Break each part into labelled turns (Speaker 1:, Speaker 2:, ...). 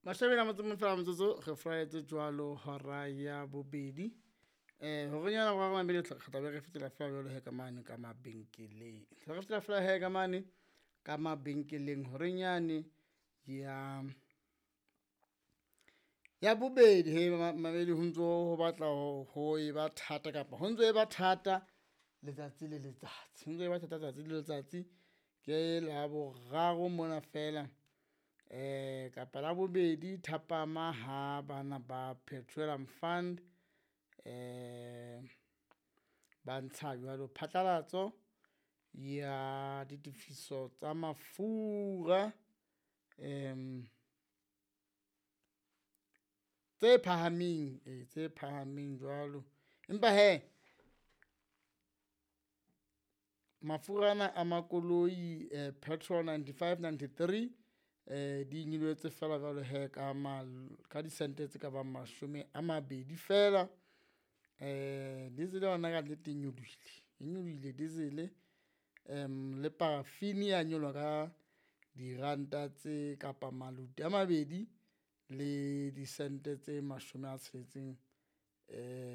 Speaker 1: Mashome a motso fela motsotso re furaetse jwalo hora ya bobedi. Hore nyana wa mamedi re tla be re fetela fela jwalo he ka mane ka mabenkeleng. Re fetela fela he ka mane ka mabenkeleng horenyane ya ya bobedi. He mamedi ho ntso ho batla ho e ba thata kapa ho ntso e ba thata letsatsi le letsatsi, ho ntso e ba thata letsatsi le letsatsi. Ke Laboraro mona fela kapa Labobedi thapama ha bana ba Petroleum Fund ba ntsha jwalo phatlalatso ya ditefiso tsa mafura tse phahameng, tse phahameng jwalo. Empa hee mafura ana a makoloi petrol 95, 93 di nyolohetse feela jwalo hee ka ka disente tse ka bang mashome a mabedi feela. Diesel yona kannete e nyolohile, e nyolohile diesel le paraffin ya nyoloha ka diranta tse kapa maluti a mabedi le disente tse mashome a tsheletseng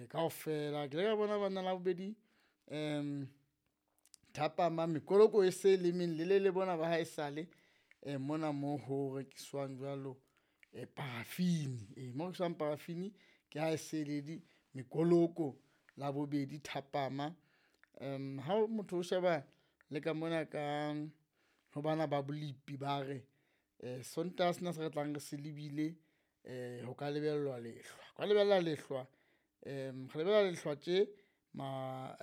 Speaker 1: kaofela. Ke ile ka bona banna Labobedi thapama mekoloko e se le melelele bona ba haesale mona mo ho rekiswang jwalo paraffin, mo ho rekiswang paraffin ke ha e se le mekoloko Labobedi thapama. Ha motho o sheba le ka mona ka ho bana ba bolipi, ba re Sontaha sena se re tlang re se lebile ho ka lebellwa lehlwa, ho ka lebella lehlwa. Re lebella lehlwa tje ma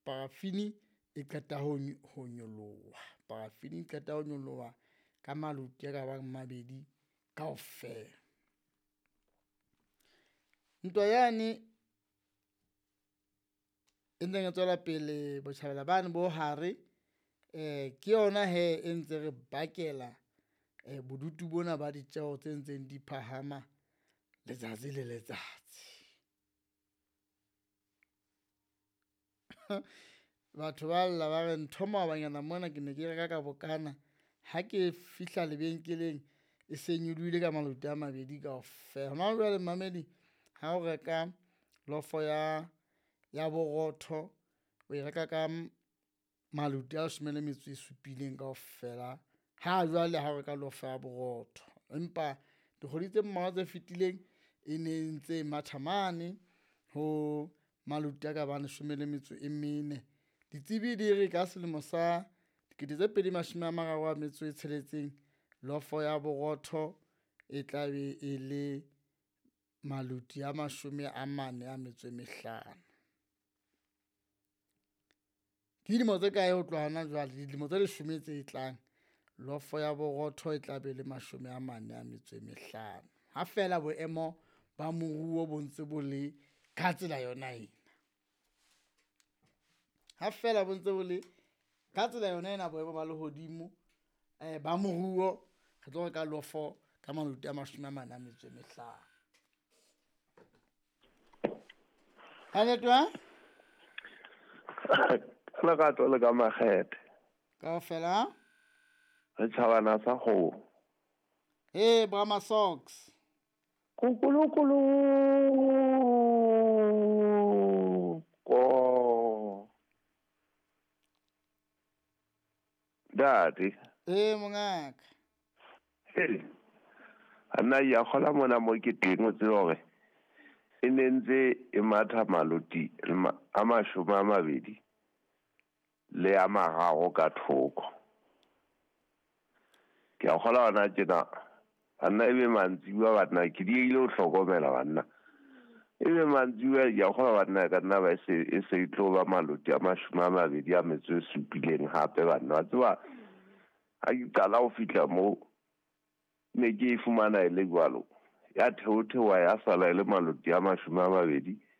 Speaker 1: paraffin e qeta ho nyoloha, paraffin e qeta ho nyoloha ka maluti a ka bang mabedi kaofela. Ntwa yane e ntseng e tswela pele botjhabela bane bo hare, ke yona hee e ntse re bakela bodutu bona ba ditjeho tse ntseng di phahama letsatsi le letsatsi. Batho ba lla ba re ntho maobanyana mona ke ne ke reka ka bokana, ha ke fihla lebenkeleng e se nyolohile ka maluti a mabedi kaofela. Hona jwale momamedi ha o reka lofo ya borotho, o e reka ka maluti a leshome le metso e supileng kaofela. Ha jwale ha o reka lofo ya borotho, empa dikgwedi tse mmalwa tse fetileng e ne ntse matha mane ho maluti a ka bang leshome le metso e mene. Ditsebi di re ka selemo sa dikete tse pedi mashome a mararo a metso e tsheletseng, lofo ya borotho e tla be e le maluti a mashome a mane a metso e mehlano. Ke dilemo tse kae ho tloha hona jwale? Dilemo tse leshome tse tlang, lofo ya borotho e tla be le mashome a mane a metso e mehlano. Ha feela boemo ba moruo bo ntse bo le ka tsela yona ena, ha feela bo ntse bo le ka tsela yona ena boemo ba lehodimo ba moruo, re tlo reka lofo ka maluti a mashome a mane a metso e mehlano. Ha?
Speaker 2: Ka lerato le ka makgethe.
Speaker 1: Kaofela?
Speaker 2: Re tjhabana sa kgomo.
Speaker 1: Hey, Brahma Socks.
Speaker 2: Kukulukulu. Ko. Ntate.
Speaker 1: Ee, mongaka.
Speaker 2: Hey. Nna ya kgola mona mo ke teng o tsebe hore e ne ntse e matha maluti a mashome a mabedi le a mararo ka thoko. Ke a kgola hona tjena banna ebe mantsibuya banna ke diehile ho hlokomela banna. Ebe mantsibuya ke a kgolwa banna ka nna ba e se e tlo ba maluti a mashome a mabedi a metso e supileng hape banna. Wa tseba ha ke qala ho fihla moo ne ke e fumana e le jwalo, ya theotheoha ya sala e le maluti a mashome a mabedi.